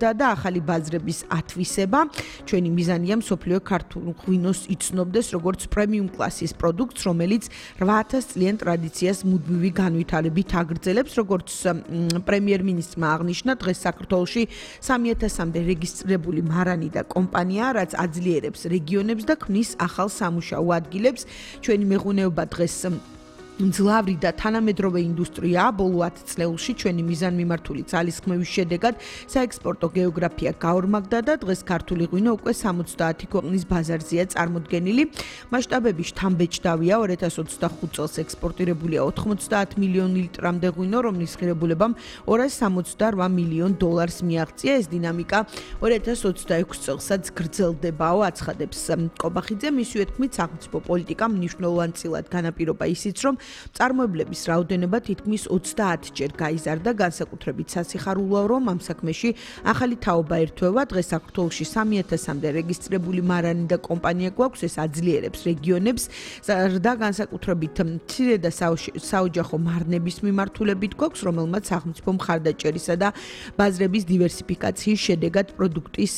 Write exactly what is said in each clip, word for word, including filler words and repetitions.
და ახალი ბაზრების ათვისება. ჩვენი მიზანია მსოფლიო ქართულ ღვინოს იცნობდეს როგორც პრემიუმ კლასის პროდუქტს, რომელიც რვა ათას წლიან ტრადიციას მუდმივი განვითარებით აგრძელებს, როგორც პრემიერ-მინისტრმა აღნიშნა, დღეს საქართველოში სამი ათასამდე რეგისტრირებული მარანი და კომპანია, რაც აძლიერებს რეგიონებს და ქმნის ახალ სამუშაო ადგილებს. ჩვენი მეღვინეობა დღეს მძლავრი და თანამედროვე ინდუსტრია, ბოლო ათ წლებში ჩვენი მიზანმიმართული ძალისხმევის შედეგად საექსპორტო გეოგრაფია გაორმაგდა და დღეს ქართული ღვინო უკვე სამოცდაათი ქვეყნის ბაზარზეა წარმოდგენილი. მასშტაბები შთამბეჭდავია, ორი ათას ოცდახუთ წელს ექსპორტირებულია ოთხმოცდაათ მილიონი ლიტრამდე ღვინო, რომლის ღირებულებამ ორას სამოცდარვა მილიონ დოლარს მიაღწია. ეს დინამიკა ორი ათას ოცდაექვსი წელსაც გრძელდებაო, აცხადებს კობახიძე. მისივე თქმით, სახელმწიფო პოლიტიკამ მნიშვნელოვანწილად განაპირობა ისიც, რომ წარმოებლების რაოდენობა თითქმის ოცდაათჯერ გაიზარდა, განსაკუთრებით სასიხარულოა, რომ ამ საქმეში ახალი თაობა ერთვება. დღეს საქართველოში სამი ათასამდე რეგისტრირებული მარანი და კომპანია გვაქვს, ეს აძლიერებს რეგიონებს და განსაკუთრებით მცირე და საოჯახო მარნების მიმართულებით გვაქვს, რომელმაც სახელმწიფო მხარდაჭერისა და ბაზრების დივერსიფიკაციის შედეგად პროდუქტის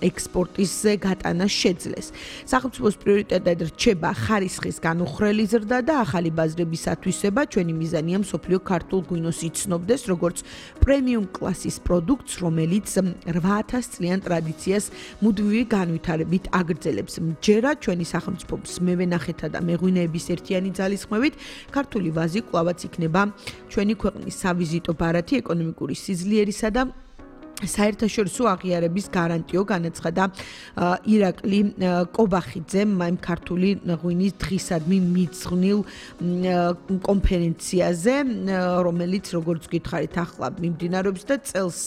ექსპორტის გატანა შეძლეს. სახელმწიფოს პრიორიტეტად რჩება ხარისხის განუხრელი ზრდა და ახალი ბაზრების ათვისება. ჩვენი მიზანია მსოფლიო ქართულ ღვინოს იცნობდეს როგორც პრემიუმ კლასის პროდუქტს, რომელიც რვა ათას წლიან ტრადიციას მუდმივი განვითარებით აგრძელებს. მჯერა ჩვენი სახელმწიფოს მევენახეთა და მეღვინეების ერთიანი ძალისხმევით ქართული ვაზი კვლავაც იქნება ჩვენი ქვეყნის სავიზიტო ბარათი ეკონომიკური სიძლიერისა და საერთაშორისო აღიარების გარანტიო, განაცხადა ირაკლი კობახიძემ ამ ქართული ღვინის დღისადმი მიძღვნილ კონფერენციაზე, რომელიც როგორც გითხარით ახლა მიმდინარეობს და წელს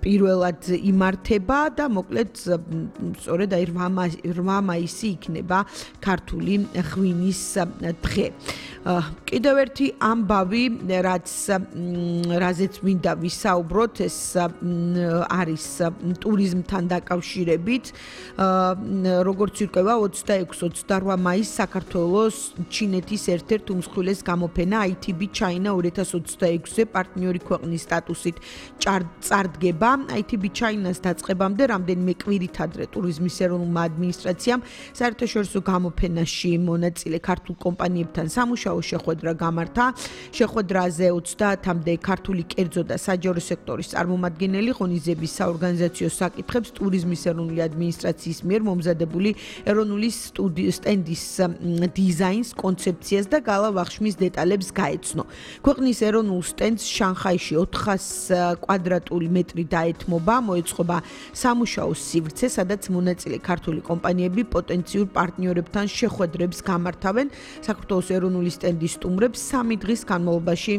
პირველად იმართება და მოკლედ სწორედ აი რვა მაისი იქნება ქართული ღვინის დღე. კიდევ ერთი ამბავი, რაც რაზეც მინდა ვისაუბროთ, ეს არის ტურიზმთან დაკავშირებით. როგორც ირკვევა, ოცდაექვსი ოცდარვა მაისს საქართველოს ჩინეთის ერთ-ერთ უმსხვილეს გამოფენა აი თი ბი China ორი ათას ოცდაექვსზე პარტნიორი ქვეყნის სტატუსით წარდგება. აი თი ბი China-ს დაწყებამდე რამდენიმე კვირით ადრე ტურიზმის ეროვნულმა ადმინისტრაციამ საერთაშორისო გამოფენაში მონაწილე ქართულ კომპანიებთან სამუშაო შეხვედრა გამართა. შეხვედრაზე ოცდაათამდე ქართული კერძო და საჯარო სექტორის წარმომადგენელი ღონისძიების საორგანიზაციო საკითხებს ტურიზმის ეროვნული ადმინისტრაციის მიერ მომზადებული ეროვნული სტენდის დიზაინს, კონცეფციას და გალა-ვახშმის დეტალებს გაეცნო. ქვეყნის ეროვნულ სტენდს შანხაიში ოთხას კვადრატული მეტრი დაეთმობა, მოეწყობა სამუშაოს სივრცე, სადაც მონაწილე ქართული კომპანიები პოტენციურ პარტნიორებთან შეხვედრებს გამართავენ. საქართველოს ეროვნული სტენდის სტუმრებს სამი დღის განმავლობაში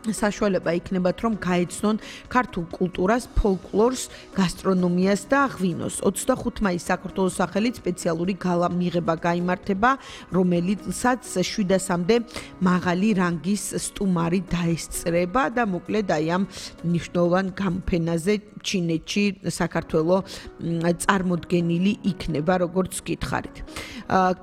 საშუალება იქნებათ, რომ გაეცნონ ქართულ კულტურას, ფოლკლორს, გასტრონომიას და ღვინოს. ოცდახუთი მაისს საქართველოს სახელით სპეციალური გალა მიღება გაიმართება, რომელიცაც შვიდასამდე მაღალი რანგის სტუმარი დაესწრება და მოკლედ აი ამ მნიშვნელოვან გამოფენაზე ჩინეთში საქართველოს წარმოდგენილი იქნება, როგორც გითხარით.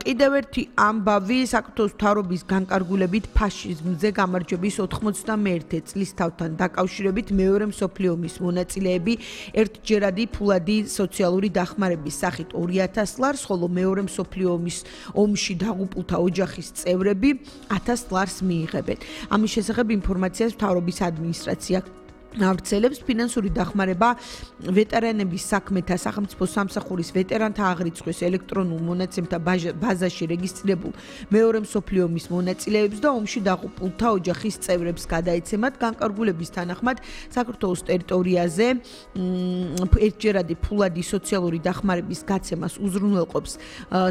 კიდევ ერთი ამბავი, საქართველოს მთავრობის განკარგულებით ფაშიზმზე გამარჯვების ოთხმოცდამეერთე წლისთავთან დაკავშირებით მეორე მსოფლიო ომის მონაწილეები ერთჯერადი ფულადი სოციალური დახმარების სახით ორი ათას ლარს, ხოლო მეორე მსოფლიო ომის ომში დაღუპულთა ოჯახის წევრები ათას ლარს მიიღებენ. ამის შესახებ ინფორმაციას მთავრობის ადმინისტრაცია ავრცელებს. ფინანსური დახმარება ვეტერანების საქმეთა სახელმწიფო სამსახურის ვეტერანთა აღრიცხვის ელექტრონულ მონაცემთა ბაზაში რეგისტრირებულ მეორე მსოფლიო ომის მონაწილეებს და ომში დაღუპულთა ოჯახის წევრებს გადაეცემათ. განკარგულების თანახმად საქართველოს ტერიტორიაზე ერთჯერადი ფულადი სოციალური დახმარების გაცემას უზრუნველყოფს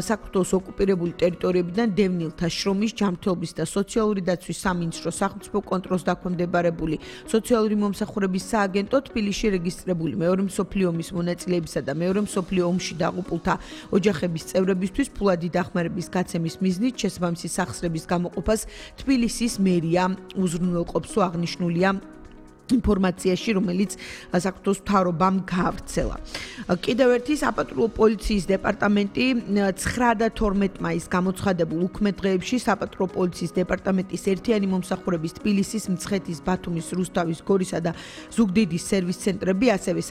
საქართველოს ოკუპირებული ტერიტორიებიდან დევნილთა შრომის, ჯანმრთელობის და სოციალური დაცვის სამინისტროს სახელმწიფო კონტროლს დაქვემდებარებული სოციალური მომსახურების სააგენტო თბილისში რეგისტრირებული მეორე მსოფლიო ომის მონაწილეებისა და მეორე მსოფლიო ომში დაღუპულთა ოჯახების წევრებისთვის ფულადი დახმარების გაცემის მიზნით შესაბამისი სახსრების გამოყოფას თბილისის მერია უზრუნველყოფს, აღნიშნულია ინფორმაციაში, რომელიც საქართველოს მთავრობამ გაავრცელა. კიდევ ერთი საპატრულო პოლიციის დეპარტამენტი ცხრა და თორმეტ მაისს გამოცხადებულ უქმე-დღეებში საპატრულო პოლიციის დეპარტამენტის ერთიანი მომსახურების თბილისის, მცხეთის, ბათუმის, რუსთავის, გორისა და ზუგდიდის სერვის ცენტრები, ასევე